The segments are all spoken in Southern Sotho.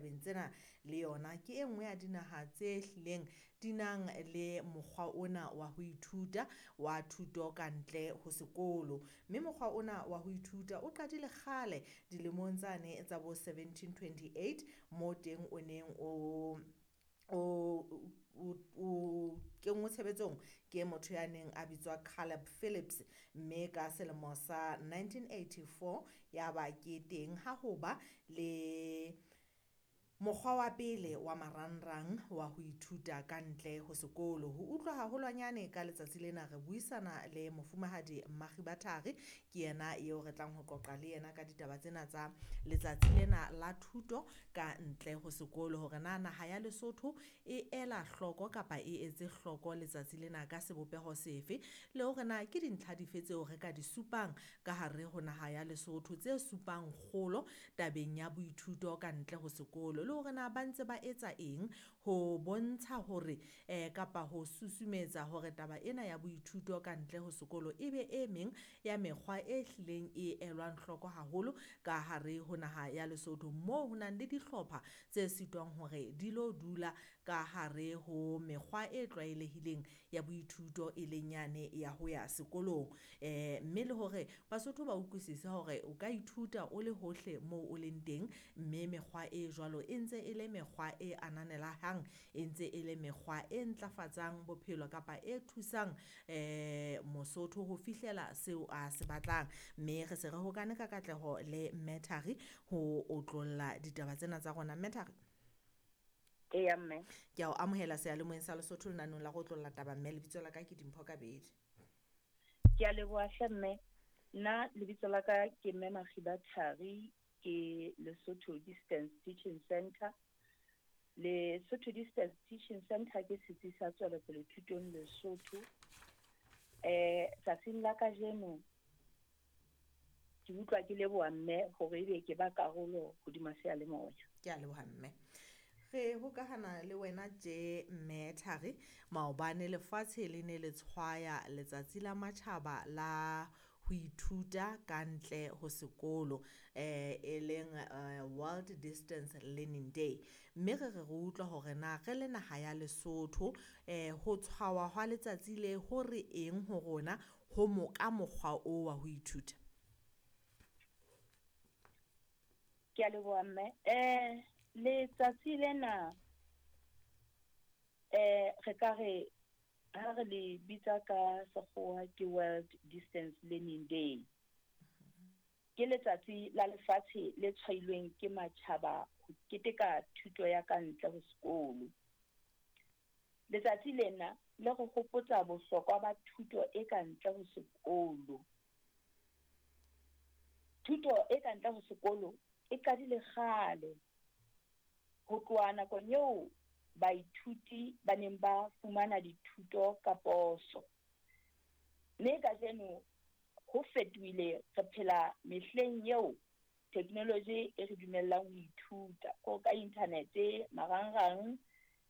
ditabeng tsena le yona ke e nngwe ya dinaha tse hlileng di nang le mokgwa ona wa ho ithuta wa thuto ka ntle ho sekolo. Mme mokgwa ona wa ho ithuta o qadile kgale dilemong tsane tsa bo 1728 moo teng o neng o o kenngwe tshebetsong ke motho ya neng a bitswa Caleb Phillips, mme ka selemo sa 1984 ya ba ke teng ha ho ba le mokgwa wa pele wa marangrang wa ho ithuta ka ntle ho sekolo. Ho utlwa haholwanyane ka letsatsi lena re buisana le mofumahadi Makgiba Thari, ke yena eo re tlang ho qoqa le yena ka ditaba tsena tsa letsatsi lena la thuto ka ntle ho sekolo, hore na naha ya Lesotho e ela hloko kapa e etse hloko letsatsi lena ka sebopeho sefe, le hore na ke dintlha dife tseo re ka di supang ka hare ho naha ya Lesotho tse supang kgolo tabeng ya boithuto ka ntle ho sekolo, le hore na ba ntse ba etsa eng ho bontsha hore kapa ho susumetsa hore taba ena ya boithuto ka ntle ho sekolo e be e meng ya mekgwa e hlileng e elwang hloko haholo ka hare ho naha ya Lesotho, moo ho nang le dihlopha tse sitwang hore di lo dula ka hare ho mekgwa e tlwaelehileng ya boithuto e leng yane ya ho ya sekolong. Mme le hore Basotho ba utlwisise hore o ka ithuta o le hohle moo o leng teng, mme mekgwa e jwalo e ntse e le mekgwa e ananelahang, e ntse e le mekgwa e ntlafatsang bophelo kapa e thusang Mosotho ho fihlela seo a se batlang. Mme re se re hokane ka katleho le Mme Thari ho otlolla ditaba tsena tsa rona. Mme Thari, Eya mme. Ke a o amohela seyalemoyeng sa Lesotho lenaneong la go otlolla taba mme, lebitso la ka ke Dimpho Kabedi. Ke a leboha hle mme. Nna lebitso la ka ke Mme Makgiba Thari, ke Lesotho Distance Teaching Center. Lesotho Distance Teaching Center ke setsi sa tswelopele thutong Lesotho. Tsatsing la kajeno ke utlwa ke leboha mme hore ebe ke ba karolo hodima seyalemoya. Ke a leboha mme. Re hokahana le wena tje Mme Thari, maobane lefatshe le ne le tshwaya letsatsi la matjhaba la ho ithuta ka ntle ho sekolo, e leng World Distance Learning Day. Mme re re re utlwa hore na re le naha ya Lesotho ho tshwawa hwa letsatsi le ho re eng ho rona ho mo ka mokgwa o wa ho ithuta. Ke a leboha mme. Letsatsi lena re ka re ha re le bitsa ka sekgowa ke World Distance Learning Day. Ke letsatsi la lefatshe le tshwailweng ke matjhaba ho keteka thuto ya ka ntle ho sekolo. Letsatsi lena le re hopotsa bohlokwa ba thuto e ka ntle ho sekolo. Thuto e ka ntle ho sekolo e qadile kgale, ho tloha nakong eo baithuti ba neng ba fumana dithuto ka poso. Mme kajeno ho fetohile, re phela mehleng eo technology e re dumellang ho ithuta ko ka internet, marangrang,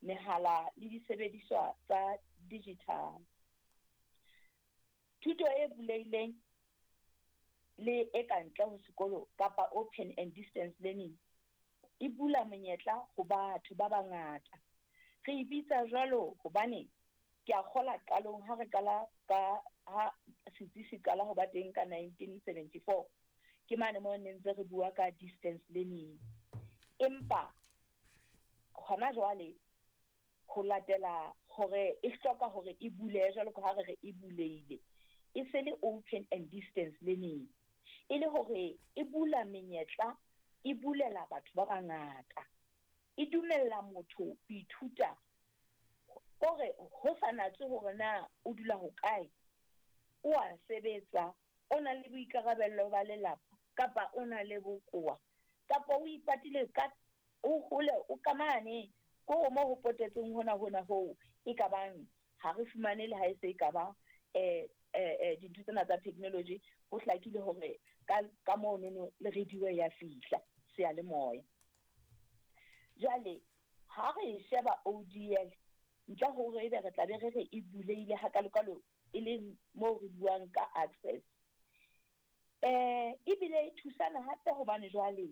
mehala le disebediswa tsa digital. Thuto e bulehileng le e ka ntle ho sekolo kapa open and distance learning e bula monyetla ho batho ba bangata. Re e bitsa jwalo hobane ke a kgola qalong ha re qala ka ha setsi se qala ho ba teng ka 1974, ke mane moo ne ntse re bua ka distance learning. Empa hona jwale ho latela hore e hloka hore e bulehe jwalo ka ha re re e bulehile, e se le open and distance learning, e le hore e bula menyetla, e bulela batho ba bangata, e dumella motho ho ithuta kore ho sa natse hore na o dula hokae, o a sebetsa, o na le boikarabello ba lelapa kapa o na le bokowa kapa o ipatile ka o hole o ka mane ko mo ho potetseng hona hona hoo e ka bang ha re fumane le ha e se e ka ba dintho tsena tsa technology. Ho hlakile hore ka monono le radio ya fihla seyalemoya. Jwale ha re sheba ODL, ntle hore ebe re tla be re re e bulehile hakalokalo, e leng moo re buang ka access, ebile e thusana hape hobane jwale